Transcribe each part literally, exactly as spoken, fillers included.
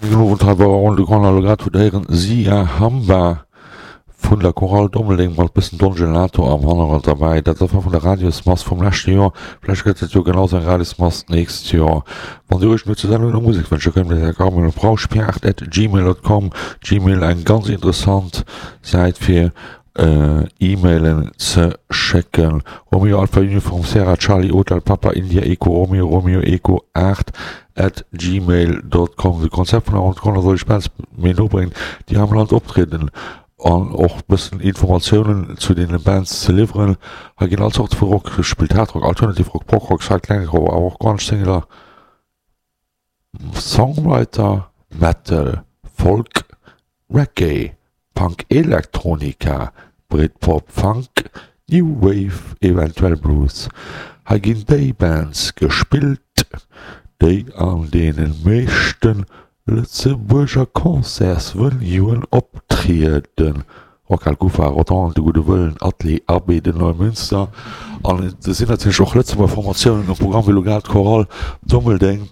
Gudden Owend, hei war Ronde Grande elo grad hutt héieren Sia Hamba vun der Chorale Dommeldeng mat bëssen Don Gelato am Hannergrond derbäi. Dat war vun der Radiosmass vum leschte Joer. Vläicht gëtt et jo genau sou eng Radiosmass d'nächst Joer. Wann Dir Iech no zur Sendung nach Musek wënscht, da kënnt Dir dat gare op rauschpiart at gmail dot com. Gmail, eng ganz interessant Säit fir E-Mailen ze schécken. Romeo Alpha Uniform Sierra Charlie Hotel Papa India Echo Romeo Romeo Echo aacht at gmail dot com. De Konzept vun der Renconter soll iech Bands méi no bréngen, déi hei am Land optrieden an och bëssen Informatiounen zu deene Bands ze liwweren. Hei ginn all Zorte vu Rock gespillt, Hardrock, Alternative Rock, Prog-Rock, Psychedelic Rock, awer och Grunge, Singular Songwriter, Metal, Folk, Reggae, Punk Elektronika, Britpop, Funk, New Wave, eventuell Blues. Hei ginn déi Bands gespillt, déi an deene meeschte Lëtzebuerger Concertsvenuen optrieden, Rockhal, Kufa, Rodange, De Gudde Wëllen, Atelier Abbey de Neumünster. An et sinn natierlech och Lëtzebuerger Formatiounen um Programm, wéi elo grad d'Chorale Dummeldeng.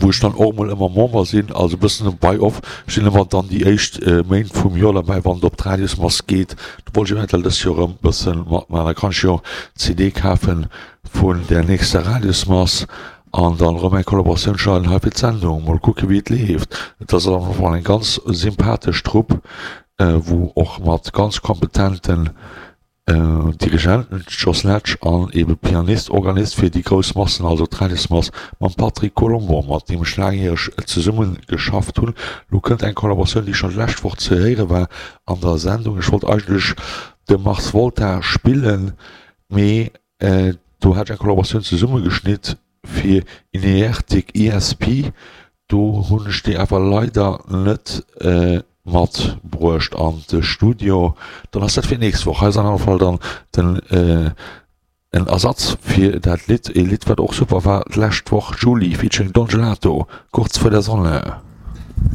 wou ech dann och emol ëmmer Member sinn, also e bëssen bei off. Ech sinn ëmmer dann déi éischt Méint vum Joer derbäi, wann et op d'Radiosmass geet. Do wollt ech eventuell dëst Joer erëm e bësse matmaachen. Da kann ech jo C D kafe vun där nächster Radiosmass an dann erëm eng Kollaboratioun schneiden hei fir d'Sendung. Mol kucke wéi et leeft. Et ass am Fall eng ganz sympathesch Trupp, wou och mat ganz kompetenten Dirigent Jos Letsch an ebe Pianist, Organist fir déi grouss Massen, also d'Radiosmass mam Patrick Colombo, mat deem ech laangjäreg zesumme geschafft hunn. Lo kënnt eng Kollaboratioun, déi schonn d'lescht Woch ze héiere war an der Sendung. Ech wollt eigentlech de Mars Volta spillen, mee do hat ech eng Kollaboratioun zesummegeschnitt fir Ineartic E S P. Do hunn ech déi awer leider net matbruecht an de Studio. Dann ass dat fir nächst Woch. Hei ass an alle Fall dann den en Ersatz fir dat Lidd, e Lidd wat och super war d'lescht Woch, Julie featuring Don Gelato, Kurz vor der Sonne.